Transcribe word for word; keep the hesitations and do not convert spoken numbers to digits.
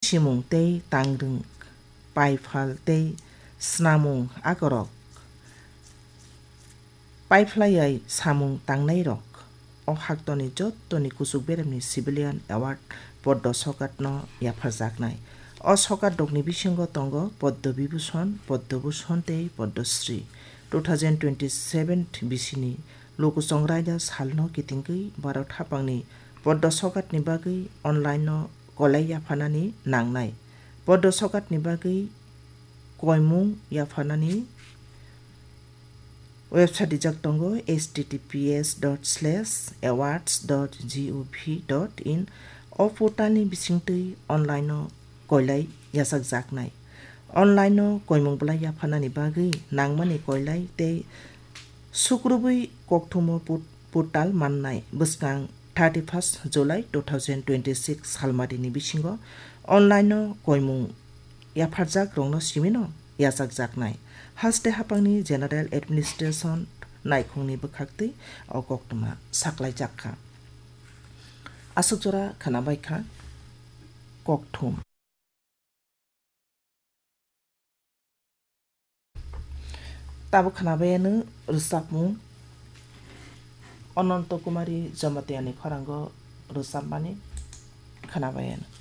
Simung tei tangrwng, paiphal tei snamung akorok, paiphlaiwi samung tangnairok. O haktoni jottoni kuchuk beremni Civilian Award Poddo Sokatno yapharjaknai. O sokatrokni bisingo tongo Poddo Bibhushon, Poddo Bhushon tei Poddo Shri. Two thousand twenty-seven bisini Lukuchongraida salno kitingwi Bharat haphangni Poddo Sokatni bagwi online-no kolai yapharnani nangnai. Poddo Sokatni bagwi koimung yapharnani website rijak tongo, H T T P S dot slash awards dot gov dot in. O portalni bisingtwi online-o koilai yachakjaknai. Online-o koimung bwlai yapharnani bagwi nangmani koilai tei sukrubwi kokthumo put-, portal mannai. Bwskang thirty-first July two thousand twenty-six salmarini bisingo online-o koimung yapharjakrokno simino yachakjaknai. Haste haphangni General Administration naikhungni bwkhaktwi o koktwma saklaijakha. Aswk jora khwnabaikha kokthum. Tabuk khwnabaiyano rwchapmung Ananto Kumari Jamatiani khorango rwchapmani khwnabaiyano.